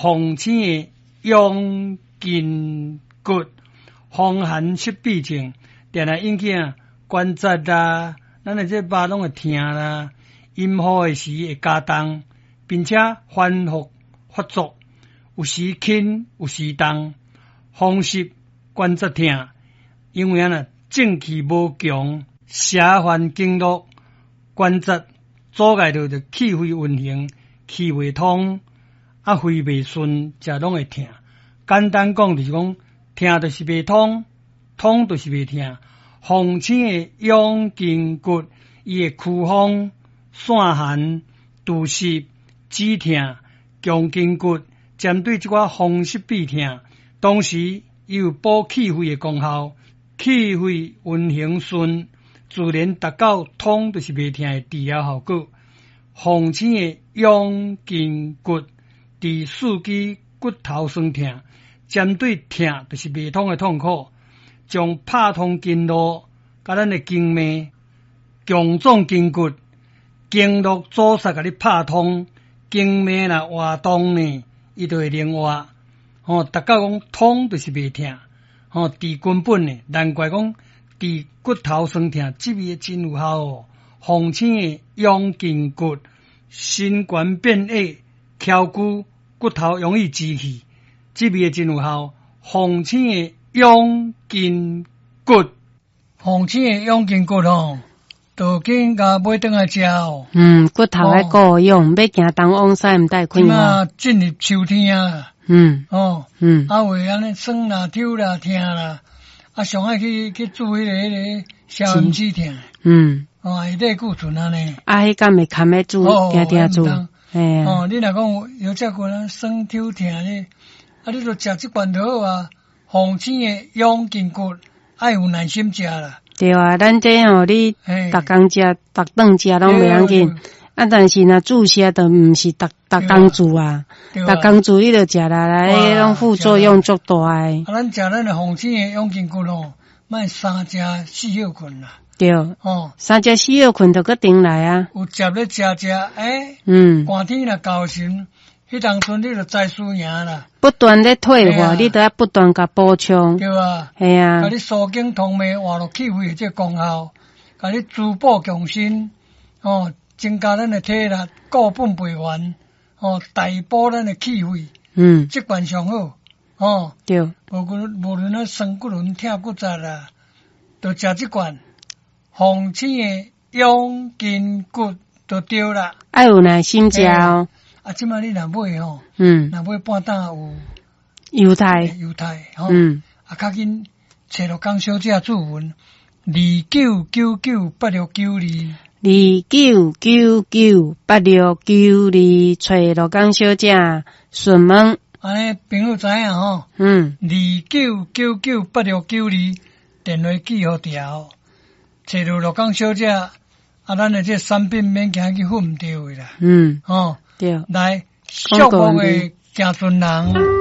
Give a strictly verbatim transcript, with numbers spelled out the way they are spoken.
風醒的養筋骨，風寒濕痹症，定定引起啊關節啦，咱的這肉攏會疼啦，陰雨的時會加重，並且反覆發作，有時輕有時重，風濕關節疼，因為按呢正氣無強，邪犯經絡，關節阻礙著就氣血運行，氣袂通，啊肺袂順，才攏會疼。簡單講就是講，疼就是袂通，通就是袂疼。風醒的養筋骨，伊會驅風、散寒、除濕、止疼、強筋骨，針對這寡風濕痹疼，同時伊有補氣血的功效，氣血運行順，自然達到通就是袂疼的治療效果。風醒的養筋骨，治四肢骨頭痠疼，針對疼就是袂通的痛苦，將拍通經絡，佮咱的經脈，強壯筋骨，經絡阻塞共你拍通，經脈若活動呢，伊就會靈活。吼，達到講通就是袂疼，吼，治根本的，難怪講治骨頭痠疼，這味真有效哦。風醒的養筋骨，身懸變矮，翹骨骨頭容易直去，這味真有效。風醒的養筋骨，風醒的養筋骨吼，就緊共買轉來食哦。嗯，骨頭愛顧養，欲行東往西毋帶困難。進入秋天啊，嗯，哦，嗯，啊有按呢酸啦、抽啦、疼啦，啊上愛去去注彼個彼個消炎止疼。嗯，哦，會類固醇按呢。啊，彼敢會堪咧注，定定注。嘿哦，你若講有這個人酸抽疼咧，啊，你就食這罐就好啊。風醒的養筋骨，愛有耐心食啦。對啊，咱這吼，你逐工食、逐頓食攏袂要緊。啊，但是若注射就毋是逐逐工注啊，逐工注你就食來來，彼種副作用足大的。啊，咱食咱的風醒的養筋骨吼，莫三食四歇睏啦。對，哦，三食四歇睏就閣停來啊。有食咧食食，欸，嗯，寒天若到時，彼當陣你就知輸贏啦。不斷咧退化，你都要不斷共補充。對啊，嘿啊。共你疏經通脈、活絡氣血的這個功效，共你滋補強身，哦，增加咱的體力，固本培元，哦，大補咱的氣血。嗯，這罐上好，哦，對。無論無論咱酸骨輪、疼骨節啦，就食這罐風醒的養筋骨就對啦。愛有耐心食哦。啊，這擺你若買吼，嗯，若買半擔有猶太，猶太吼，嗯，啊，較緊揣鹿港小姐注文，二九九九八六九二，二九九九八六九二，揣鹿港小姐詢問。按呢朋友知影吼，嗯，二九九九八六九二，電話記予牢，揣著鹿港小姐，啊，咱的這產品免驚去混毋著的啦，嗯，吼。對，來，寂寞的行船人。